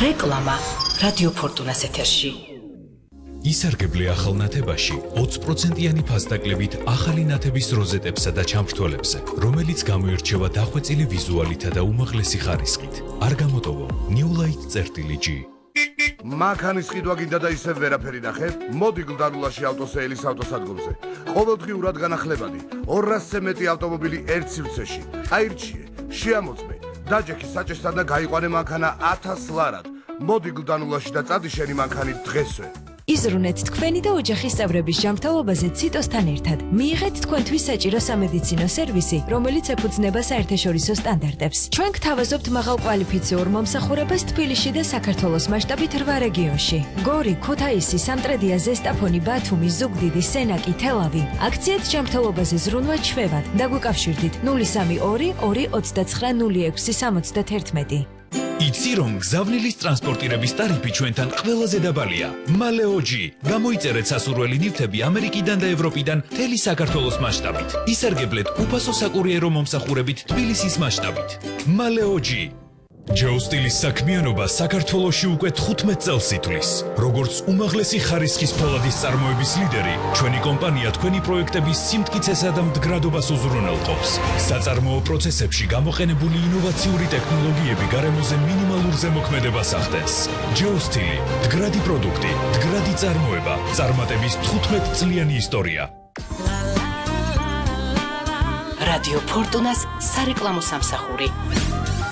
რეკლამა რადიო ფორტუნას ეთერში. ისარგებლე ახალ ნათებაში 20%-იანი ფასდაკლებით ახალი ნათების როზეტებსა და ჩამრთველებზე, რომელიც გამოირჩევა დახვეწილი ვიზუალითა და უმაღლესი ხარისხით. არ გამოტოვო Newlight-G. მანქანის ყიდვა გინდა და ისევ ვერაფერი ნახე? მოდი გლდანულაში ავტოსეილის ავტოსადგომზე. ყოველდღიურად განახლებადი 200-ზე მეტი ავტომობილი ერთ სივრცეში. აირჩიე, შეამოწმე, დაჯექი საჭესთან და გაიყვანე მანქანა 1000 ლარად. მოდი გლდანულაში და წადი შენი მანქანით დღესვე. იზრუნეთ თქვენი და ოჯახის წევრების ჯანმრთელობაზე ციტოსთან ერთად. მიიღეთ თქვენთვის საჭირო სამედიცინო სერვისი, რომელიც ეფუძნება საერთაშორისო სტანდარტებს. ჩვენ გთავაზობთ მაღალკვალიფიციურ მომსახურებას თბილისში და საქართველოს მასშტაბით 8 რეგიონში. გორი, ქუთაისი, სამტრედია, ზესტაფონი, ბათუმი, ზუგდიდი, სენაკი, თელავი. აქციეთ ჯანმრთელობაზე ზრუნვა ჩვევად. დაგვიკავშირდით 032 229 0671. იცი რომ გზავნილის ტრანსპორტირების ტარიფი ჩვენთან ყველაზე დაბალია. მალეოჯი. გამოიწერეთ სასურველი ნივთები ამერიკიდან და ევროპიდან მთელი საქართველოს მასშტაბით. ისარგებლეთ უფასო საკურიერო მომსახურებით თბილისის მასშტაბით. მალეოჯი. ჯეოსტილის საქმიანობა საქართველოში უკვე 15 წელს ითვლის. როგორც უმაღლესი ხარისხის ფოლადის წარმოების ლიდერი, ჩვენი კომპანია თქვენი პროექტების სიმტკიცესა და მდგრადობას უზრუნველყოფს. საწარმოო პროცესებში გამოყენებული ინოვაციური ტექნოლოგიები გარემოზე მინიმალურ ზემოქმედებას ახდენს. ჯეოსტილი, მდგრადი პროდუქტი, მდგრადი წარმოება, წარმატების 15 წლიანი ისტორია. რადიო ფორტუნას სარეკლამო სამსახური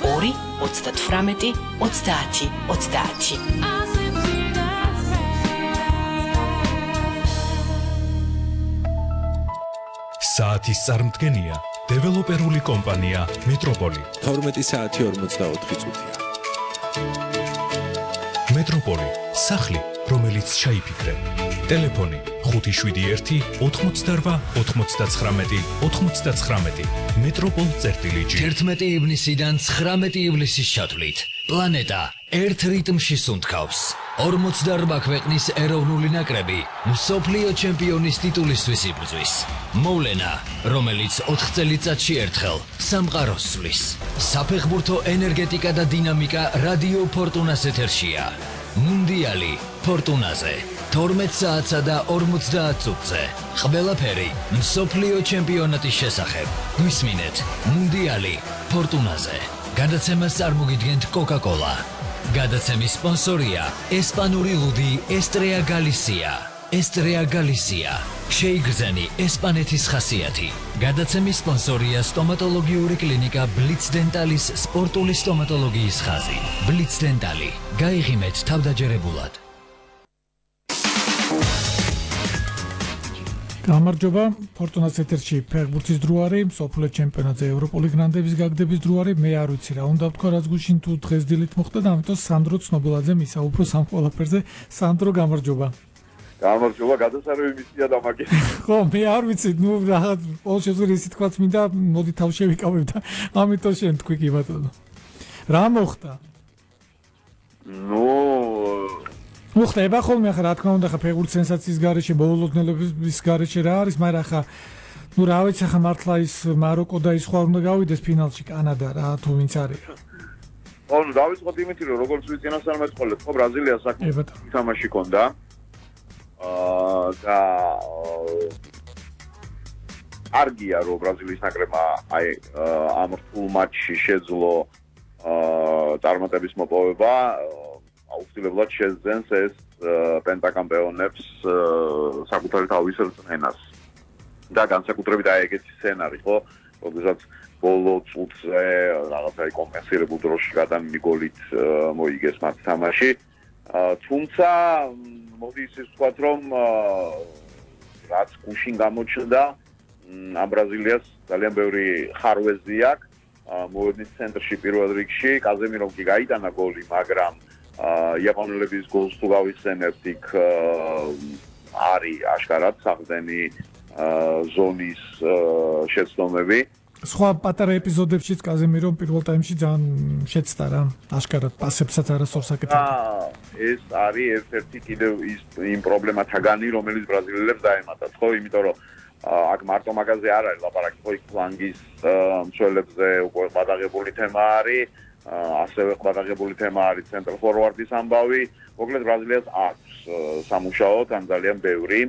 2 38 30 30. საათის წარმდგენია დეველოპერული კომპანია მეტროპოლი. 12 საათი 44 წუთია. მეტროპოლი, სახლი, რომელიც ჩაიფიქრე. ტელეფონი 571 88 99 99. მეტროპოლ-G. 11 ივნისიდან 19 ივლისის ჩათვლით პლანეტა ერთ რიტმში სუნთქავს. 48 ქვეყნის ეროვნული ნაკრები მსოფლიო ჩემპიონის ტიტულისთვის იბრძვის. მოვლენა, რომელიც 4 წელიწადში ერთხელ სამყაროს სვლის. საფეხბურთო ენერგეტიკა და დინამიკა რადიო ფორტუნას ეთერშია. მუნდიალი ფორტუნაზე 12 საათსა და 50 წუთზე. ყველაფერი მსოფლიო ჩემპიონატის შესახებ. გვისმინეთ მუნდიალი ფორტუნაზე. გადაცემას წარმოგიდგენთ Coca-Cola. გადაცემის სპონსორია ესპანური ლუდი ესტრეა გალისია. ესტრეა გალისია. შეიგრძენი ესპანეთის ხასიათი. გადაცემის სპონსორია სტომატოლოგიური კლინიკა ბლიც დენტალის სპორტული სტომატოლოგიის ხაზი. ბლიც დენტალი. გაიღიმეთ თავდაჯერებულად. გამარჯობა, ფორტუნას ეთერში ფეხბურთის დროარი, მსოფლიო ჩემპიონატზე ევროპული გრანდების გაგდების დროარი. მე არ ვიცი რა უნდა ვთქვა, რაც გუშინ თუ დღეს დილით მოხდა და ამიტომ სანდრო ცნობილაძე მისაუბროს ამ ყველაფერზე. სანდრო, გამარჯობა. გამარჯობა, გადასარევი მისია და მაგის. ხო, მე არ ვიცი, ნუ რაღაც ყოველ შემთხვევაში ისიც თქვაც მინდა, მოდი თავ შევიკავებ და ამიტომ შენ თქვი კი ბატონო. რა მოხდა? მოხდება ხოლმე ახლა რა თქმა უნდა ხა ფეხბურთის სენსაციის გარეშე ბოლოდნელობის გარეშე რა არის, მაგრამ ხა ნუ რა ვიცი ხა მართლა ის მაროკო და ის სხვა უნდა გავიდეს ფინალში კანადა რა თუ ვინც არის. ხო, ნუ დავიწყოთ იმით რომ როგორც ვიცი წინასწარ მეწყოლეთ, ხო ბრაზილიას საკუთარი თამაში ქონდა. და არგია რომ ბრაზილიის ნაკრებმა აი ამ რთულ მატჩში შეძლო წარმატების მოპოვება. აუცილებლად შეძენს ეს პენტაკამპეონებს საკუთარი თავის რწმენას და განსაკუთრებით აი ეგეთი სცენარი ხო, როდესაც ბოლო წუთზე რაღაცა კომპენსირებულ დროში გადამი გოლით მოიგეს მათ თამაში. თუმცა მოდი ისე ვთქვათ რომ რაც გუშინ გამოჩნდა ამ ბრაზილიას ძალიან ბევრი ხარვეზი აქვს. მოედნის ცენტრში პირველ რიგში კაზემირომ კი გაიტანა გოლი, მაგრამ იაპონელების გოლს თუ გავიხსენებთ, იქ არის აშკარად საყრდენი ზონის შეცდომები. სხვა პატარა ეპიზოდებშიც კაზემირომ პირველ ტაიმში ძალიან შეცდა რა, აშკარად პასებსაც არასდროს აკეთებდა. ეს არის ერთ-ერთი კიდევ იმ პრობლემათაგანი, რომელიც ბრაზილიელებს დაემატათ, ხო, იმიტომ რომ აქ მარტო მაგაზე არ არის ლაპარაკი, ხო, იქ ფლანგის მცველებზე უკვე გადაღებული თემა არის. ასევე ყურადღებული თემა არის ცენტრალ ფორვარდის ამბავი. მოკლედ ბრაზილიას აქვს სამუშაო თან ძალიან ბევრი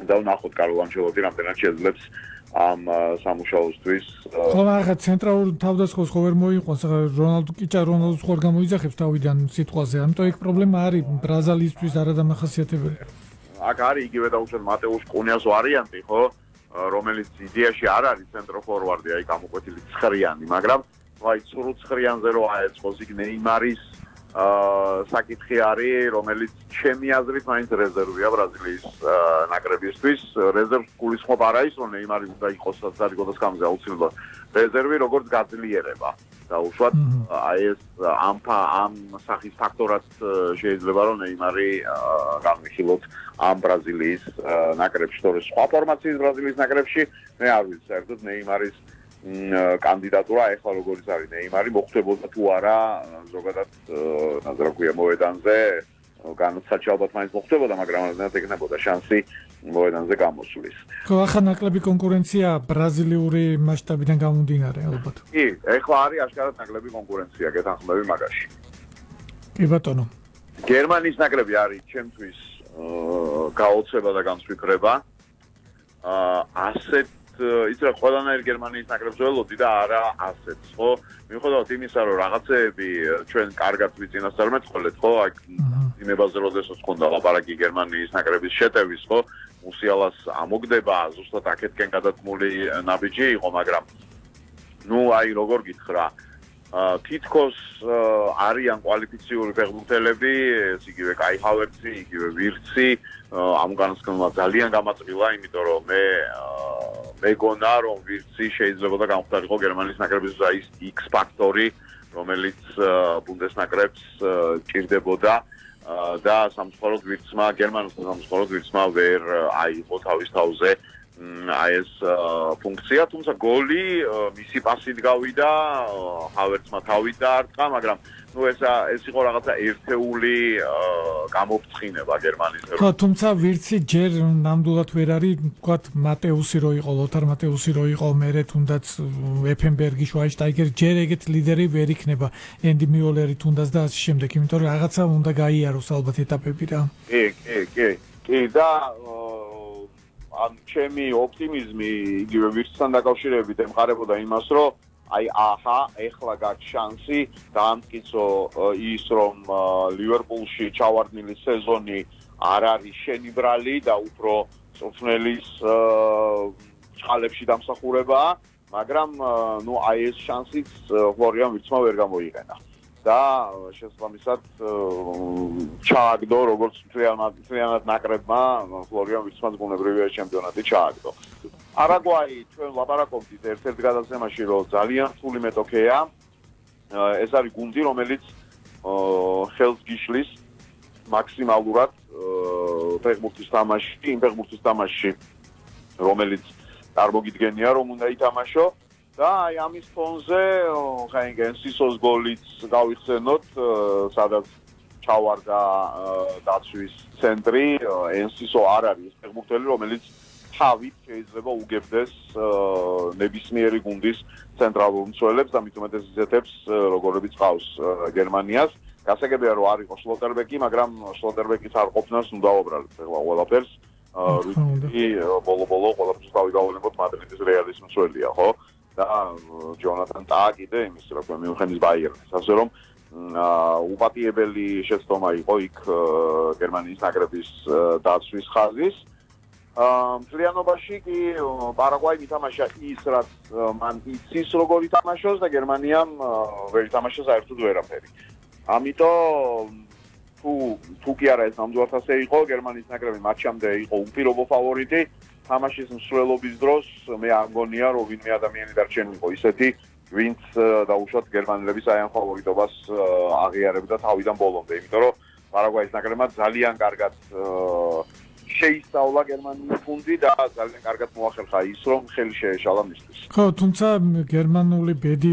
და ვნახოთ კარლო ანჩელოტი რამდენად შეძლებს ამ სამუშაოსთვის. ხო, ახლა ცენტრალურ თავდასხმას ხო ვერ მოიყვანს, რონალდო კიჭა რონალდოს ხوار გამოიძახებს თავიდან სიტყვაზე. ამიტომ ეგ პრობლემა არის ბრაზილიისთვის არადამახასიათებელი. აქ არის იგივე დაუშვათ მატეუს კუნიას ვარიანტი, ხო? რომელიც იდეაში არ არის ცენტრალ ფორვარდი, აი გამოკვეთილი ცხრიანი, მაგრამ აი ცრუ ცხრიანზე რო აეწყოს იქ ნეიმარის საკითხი არის, რომელიც ჩემი აზრით მაინც რეზერვია ბრაზილიის ნაკრებისთვის. რეზერვს გულისხმობ არა ის, რომ ნეიმარი უნდა იყოს საწარიგოდას გამზე აუცილებლად რეზერვი როგორც გაძლიერება. დაუშვათ აი ეს ამ სახის ფაქტორად შეიძლება რომ ნეიმარი გამიხილოთ ამ ბრაზილიის ნაკრებში. თორე სხვა ფორმაციის ბრაზილიის ნაკრებში მე არ ვიცი საერთოდ ნეიმარის კანდიდატურა ეხლა როგორიც არის ნეიმარი მოხდებოდა თუ არა ზოგადად ნაზრაქვია მოედანზე განაცაჩ ალბათ მაინც მოხდებოდა მაგრამ არ ეკნებოდა შანსი მოედანზე გამოსვლის. ხო, ახლა ნაკლები კონკურენცია ბრაზილიური მასშტაბიდან გამომდინარე ალბათ. კი, ეხლა არის აშკარად ნაკლები კონკურენცია გეთანხმები მაგაში. კი ბატონო. გერმანიის ნაკრები არის ჩემთვის გაოცება და განსვიფრება. ასეთ ის რა ყველანაირ გერმანიის ნაკრებს ველოდი და არა ასეთს, ხო? მიუხედავად იმისა, რომ რაღაცეები ჩვენ კარგად ვიწინასწარმეტყველეთ, ხო? აი იმებაზე როდესაც ხონდა ლაპარაკი გერმანიის ნაკრების შეტევის, ხო? მუსიალას ამოგდება, ზუსტად აქეთკენ გადადგმული ნაბიჯი იყო, მაგრამ ნუ აი როგორ გითხრა, თითქოს არიან კვალიფიციური ფეხბურთელები, ეს იგივე კაი ჰავერცი, იგივე ვირცი, ამ განსკვნელმა ძალიან გამაწვილა, იმიტომ რომ მე მეგონა რომ ვირცი შეიძლება გამختارიყო გერმანიის ნაკრების ის X ფაქტორი, რომელიც ბუნდესნაკრებს ჭირდებოდა და სამწუხაროდ ვირცმა გერმანულ სამწუხაროდ ვირცმა ვერ აიღო თავის თავზე აი ეს ფუნქცია, თუმცა გოლი მისი პასით გავიდა, ჰავერცმა თავით დაარტყა, მაგრამ ნუ ეს იყო რაღაცა ერთეული გამოფრთხინება გერმანიის. ხო, თუმცა ვირცი ჯერ ნამდვილად ვერ არის, ვთქვათ, მატეუსი რო იყო, ლოთარ მატეუსი რო იყო, მერე თუნდაც ეფენბერგი, შვაინშტაიგერი, ჯერ ეგეთ ლიდერი ვერ იქნება, ენდი მიოლერი თუნდაც და ასე შემდეგ, იმიტომ რომ რაღაცა უნდა გაიაროს ალბათ ეტაპები რა. კი და ან ჩემი ოპტიმიზმი იგივე ვირცთან დაკავშირებით ემყარებოდა იმას, რომ აი აჰა, ეხლა გაქვს შანსი დაამტკიცო ის, რომ ლივერპულში ჩავარდნილი სეზონი არ არის შენიბრალი და უფრო წვრთნელის წყალებში დამსახურებაა, მაგრამ ნუ აი ეს შანსიც ფლორიან ვირცმა ვერ გამოიყენა. და შესაბამისად ჩააგდო როგორც მთლიანად ნაკრებმა ფლორიან ვირცმაც ბუნებრივია ჩემპიონატი ჩააგდო. არაგვაი ჩვენ ლაპარაკობდით ერთ-ერთ გადაცემაში რომ ძალიან რთული მეტოქეა. ეს არის გუნდი რომელიც ხელს გიშლის მაქსიმალურად ფეხბურთის თამაში, იმ ფეხბურთის თამაში რომელიც წარმოგიდგენია რომ უნდა ითამაშო. და აი ამის ფონზე ხაინგენსისოს გოლიც გავიხსენოთ, სადაც ჩავარდა დაცვის ცენტრი, ენსისო არ არის ფეხბურთელი, რომელიც თავით შეიძლება უგებდეს ნებისმიერი გუნდის ცენტრალურ მცველებს და მით უმეტეს იზეთებს, როგორებიც ყავს გერმანიას. გასაგებია რომ არ იყო შლოტერბეკი, მაგრამ შლოტერბეკის არ ყოფნას ნუ დავაბრალეთ ახლა ყველაფერს. რუდი ბოლო-ბოლო ყველაფერს დავიგავლებოთ მადრიდის რეალის მცველია, ხო? და ჯონათან ტა კიდე იმის რა ქვია მიუნხენის ბაიერნის, ასე რომ უპატიებელი შეცდომა იყო იქ გერმანიის ნაკრების დაცვის ხაზის. მთლიანობაში კი პარაგვაიმ ითამაშა ის, რაც მან იცის როგორ ითამაშოს და გერმანიამ ვერ ითამაშა საერთოდ ვერაფერი. ამიტომ თუ კი არა ეს ნამდვილად ასე იყო, გერმანიის ნაკრები მატჩამდე იყო უპირობო ფავორიტი. თამაშის მსვლელობის დროს მე არ მგონია რომ ვინმე ადამიანი დარჩენილიყო ისეთი, ვინც დაუშვათ გერმანელების აი ამ ფავორიტობას აღიარებდა თავიდან ბოლომდე, იმიტომ რომ პარაგვაის ნაკრებმა ძალიან კარგად შეისწავლა გერმანიის გუნდი და ძალიან კარგად მოახერხა ის, რომ ხელი შეეშალა მისთვის. ხო, თუმცა გერმანული ბედი